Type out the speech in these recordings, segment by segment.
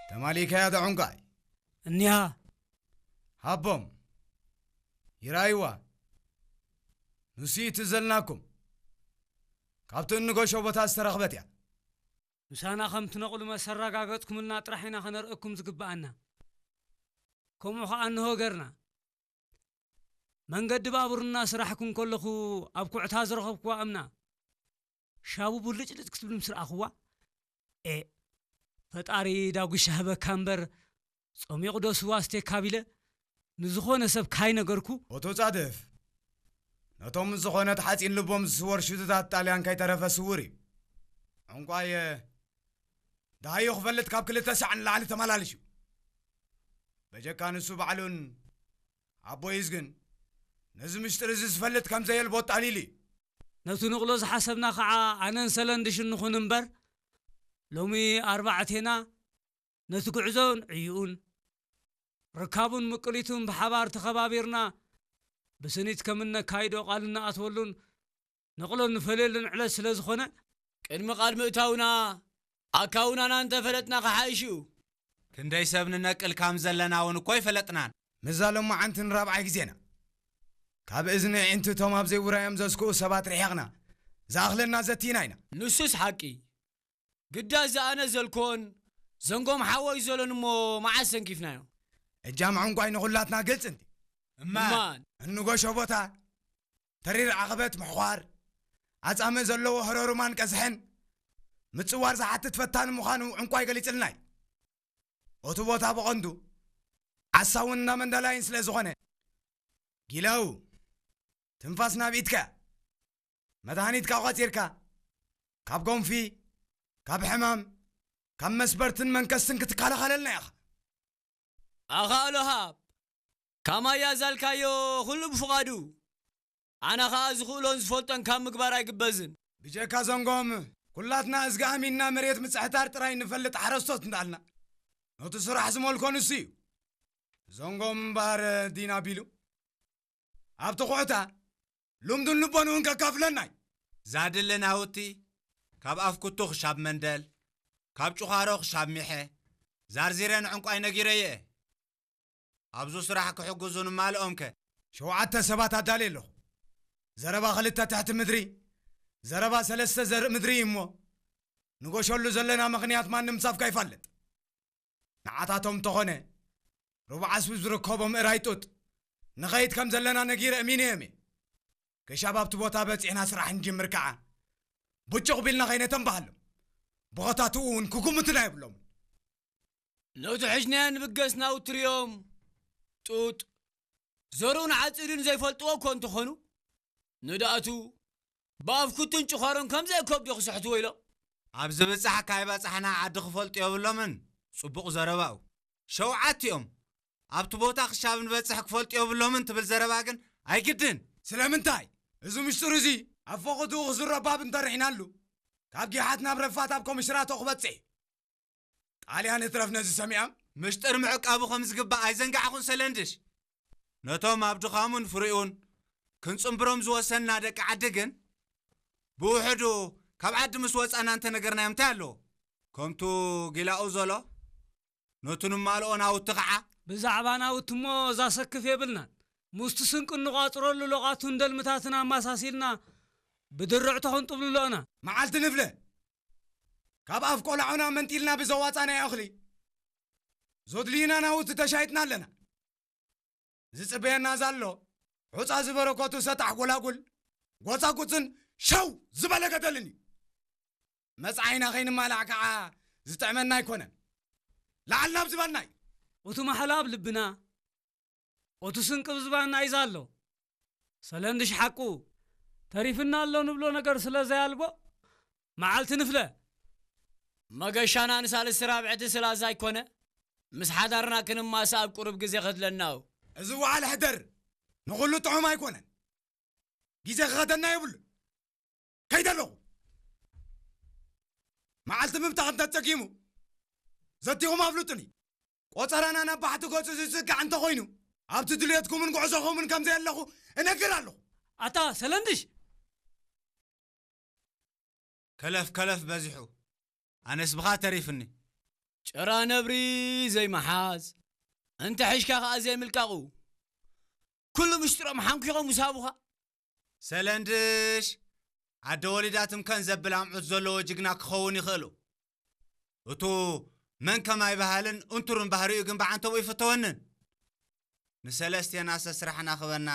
ተማሊካያ ዶ ዕንቋይ? እኒሃ። ሃቦም። ይራይዋ። ንሱ እዩ ትዘልናኩም። ካብቲ እንገሾ ቦታ ዝተረኽበት እያ። ምሳና ከም ትነቕሉ መሰረጋገጽኩምልና ጥራሕ ኢና ከነርእኩም ዝግብኣና። ከምኡ ኸኣ እንሆ ገርና። መንገዲ ባቡር እናሰራሕኩ እንከለኹ ኣብ ኩዕታ ዝረኸብኩዋ እምና ሻቡ ብልጭልጭ ክትብል ምስ ረኣኹዋ፣ ኤ፣ ፈጣሪ ዳጉሻ ህበካ እምበር፣ ጸሚቑ ዶ ስዋ ኣስቴካ ቢለ ንዝኾነ ሰብ ካይነገርኩ። ኦቶ ጻድፍ፣ ነቶም ዝኾነት ሓጺን ልቦም ዝስወር ሽቱታት ጣልያን ከይተረፈ ስውር እዩ። ዕንቋየ፣ ደሃዮ ክፈልጥ ካብ ክልተ ሳዕ ንላዕሊ ተመላልሽ እዩ። በጀካ ንሱ ባዕሉን ኣቦይ እዝግን ነዚ ምሽጥር እዚ ዝፈልጥ ከም ዘየልቦ ኣጣሊሉ እዩ። ነቲ ንቕሎ ዝሓሰብና ኸዓ ኣነን ሰለንድሽን ንኹን እምበር፣ ሎሚ ኣርባዕቴና ነቲ ጉዕዞን ዕይኡን፣ ርካቡን ምቅሊቱን ብሓባር ተኸባቢርና ብስኒት ከም እነካይዶ ቃል እንኣትወሉን ንቕሎ እንፈልየሉን ዕለት ስለ ዝኾነ፣ ቅድሚ ቃል ምእታውና ኣካውናና እንተፈለጥና ክሓይሽ እዩ። ክንደይ ሰብ ንነቅል ካም ዘለና እውን እኮ ኣይፈለጥናን። ምዛ ሎማዓንቲ ንራብዓይ ግዜና። ካብ እዝኒ ኣዒንቲ እቶም ኣብ ዘይውራዮም ዘስክኡ ሰባት ርሒቕና፣ ዝኣኽለና ዘቲና ኢና። ንሱስ ሓቂ። ግዳ እዚ ኣነ ዘልኮን ዘንጎም ሓወይ ዘሎን እሞ መዓስ ሰንኪፍናዮ? እጃም ዕንቋይ ንኹላትና ግልጽ እንዲ። እማን። እማን። እንጎሾ ቦታ፣ ተሪር ዓቐበት ምሕዃር፣ ኣጻምእ ዘለዎ ህረሩማን ቀዝሕን ምጽዋር ዝሓትት ፈታኒ ምዃኑ ዕንቋይ ገሊጽልና እዩ። እቲ ቦታ ብቐንዱ ዓሳውን እንዳ መንደላይን ስለ ዝኾነ፣ ጊላው፣ ትንፋስ ናብ ኢድካ፣ መድሃኒትካ ቋጺርካ፣ ካብ ጎንፊ፣ ካብ ሕማም፣ ካብ መስበርትን መንከስትን ክትከላኸለልና ኢኻ። ኣኻ ኣሎሃብ፣ ካማያ ዛልካዮ ኩሉ ብፍቓዱ፣ ኣነ ኸኣ ዝኽእሎን ዝፈልጦን ካብ ምግባር ኣይግበዝን። ብጀካ ዘንጎም፣ ኩላትና እዝጊ ኣሚንና መሬት ምጽሕታር ጥራይ ንፈልጥ ሓረስቶት እንዳልና፣ ነቲ ስራሕ ዝመልኮ ንሱ እዩ። ዘንጎም እምበኣር ዲና ቢሉ፣ ኣብቲ ኩዕታ ልምዱን ልቦንኡን ከካፍለና እዩ። ዛድሊ ናውቲ፣ ካብ ኣፍ ኩቱ ክሻብ መንደል፣ ካብ ጭዃሮ ክሻብ ሚሐ፣ ዛርዚረ ንዕንቋይ ነጊረዮ እየ። ኣብዙ ስራሕ ክሕግዙ ንማልኦም ከ? ሸውዓተ ሰባት ኣዳልየ ኣለኹ። ዘረባ ክልተ ትሕቲ ምድሪ፣ ዘረባ ሰለስተ ዘርኢ ምድሪ እዩ እሞ፣ ንጎሸሉ ዘለና ምኽንያት ማንም ሳፍካ ይፋለጥ። ንዓታቶም እንተኾነ፣ ሩብዓ ስብ ዝርከቦ ምእራይ ጡጥ፣ ንኸይድ ከም ዘለና ነጊረ እሚነዮም እየ። ክሻብ ኣብቲ ቦታ በጺሕና ስራሕ ንጅምር ከኣ፣ ብጭቕ ቢልና ከይነተንባሃሎም፣ ብኸታትኡ እውን ክጉምትና የብሎምን። ነቲ ሕጅናዮ ንብገስ ናውቲ ርእዮም፣ ጡጥ፣ ዘርኡን ዓጺዱን ዘይፈልጥዎ እኮ እንተኾኑ፣ ንድኣቱ ብኣፍ ኩቱን ጭዃሮን ከምዘይ ከብዱ ክስሕትዎ ኢሎም። ኣብ ዝብጻሕ ካይበጻሕና ዓዲ ክፈልጡ የብሎምን። ጽቡቕ ዘረባኡ። ሸውዓቲኦም ኣብቲ ቦታ ክሻብ ንበጽሕ ክፈልጡ የብሎምን ትብል ዘረባ ግን ኣይግድን። ስለምንታይ? እዚ ምሽጥር እዚ ኣብ ፈቐድኡ ክዝረብ ባብ እንተርሒናሉ፣ ካብ ጊሓት ናብ ረፋት ኣብ ኮምሽራቶ ክበጽሕ እዩ። ጣልያን እትረፍ ነዚ ሰሚዖም። ምሽጥር ምዕቃቡ ከም ዝግባእ ኣይዘንጋዕኹን ሰለንድሽ። ነቶም ኣብ ድኻሙን ፍሪኡን ክንጽንብሮም ዝወሰንና ደቂ ዓዲ ግን፣ ብውሕዱ ካብ ዓዲ ምስ ወጻና እንተነገርናዮም እንታይ ኣለዎ? ከምቱ ጊላኡ ዘሎ፣ ነቱ ንማልኦ ናውቲ ኸዓ። ብዛዕባ ናውቲ እሞ ዛሰክፍ የብልናን። ሙስቲ ስንቂ እንቋጽረሉ ሎቓቱን ደልምታትን ኣማሳሲልና ብድርዕቶ ክንጥብልሎ ኢና። መዓልቲ ንፍለ፣ ካብ ኣፍ ቆላዑና መንጢልና ብዘዋጻናዮ እኽሊ፣ ዘድልዩና ናውቲ ተሻይጥና ኣለና። ዝጽበየና ዘሎ፣ ሑጻ ዝበረከቱ ሰጣሕ ጎላጉል፣ ጎጻጉጽን ሸው ዝበለ ገደልን እዩ። መጻኢና ከይንማላዕ ከኣ ዝጥዕመና ኣይኮነን። ላዕል ናብ ዝበልና እዩ። እቲ ማሕላ ኣብ ልብና፣ እቲ ስንቂ ኣብ ዝባንና እዩ ዘሎ። ሰለንድሽ ሓቁ፣ ተሪፍና ኣሎ ንብሎ ነገር ስለ ዘያልቦ፣ መዓልቲ ንፍለ። መገሻና ንሳልስቲ ራብዕቲ ስላዛ ኣይኮነ፣ ምስ ሓዳርና ክንማሰ ኣብ ቁሩብ ግዜ ከድለና እዩ። እዚ ውዓል ሕደር ንኹሉ ጥዑም ኣይኮነን። ግዜ ክኸደና የብሉን። ከይደ ኣለኹ። መዓልቲ ምብታኽ እንተጸጊሙ፣ ዘቲኹም ኣፍልጡኒ። ቆጸራና ናብ ባሕቲ ገጹ ዝጽጋዕ እንተኾይኑ፣ ኣብቲ ድልየትኩምን ጉዕዞኹምን ከም ዘየለኹ እነግር ኣለኹ። ኣታ ሰለንድሽ! ከለፍ ከለፍ በዚሑ፣ ኣነስ ብኻ ተሪፍኒ። ጭራ ነብሪ ዘይመሓዝ፣ እንተ ሒሽካ ኸኣ ዘይምልቃቑ፣ ኩሉ ምሽጥሮም ሓንኪኾም ምስ ሃቡኻ። ሰለንድሽ፣ ዓደ ወሊዳ ትምከን ዘብል ኣምዑት ዘለዎ ጅግና ክኸውን ይኽእሉ። እቱ መን ከማይ ባህልን እንቱርን ባህሪኡ ግን ብዓንተቦ ይፍተወንን። ንሰለስቴናሰ ስራሕና ክበና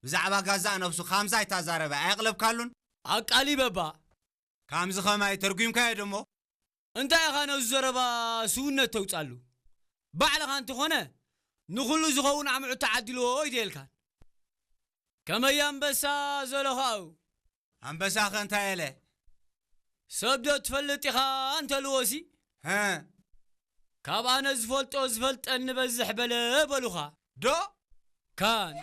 ብዛዕባ ጋዛእ ነብሱ ካምዛ ኣይታዛረበ ኣየቕለብካሉን? ኣቃሊበባ። ካምዚ ኸማይ ተርጒምካዮ ደሞ? እንታይ ኢኻ ነዚ ዘረባ ስውነት ተውጻሉ? ባዕልኻ እንተኾነ ንኹሉ ዝኸውን ኣምዑት ተዓዲልዎ ኣይደልካን። ከመይ ኣንበሳ ዘሎ ኸኣው? ኣንበሳኸ እንታይ ኣለ? ሰብ ዶ ትፈልጥ ኢኻ እንተልዎሲ? ሀ? ካብ ኣነ ዝፈልጦ ዝፈልጠኒ በዝሕ በለ በሉኻ። ዶ? ካን።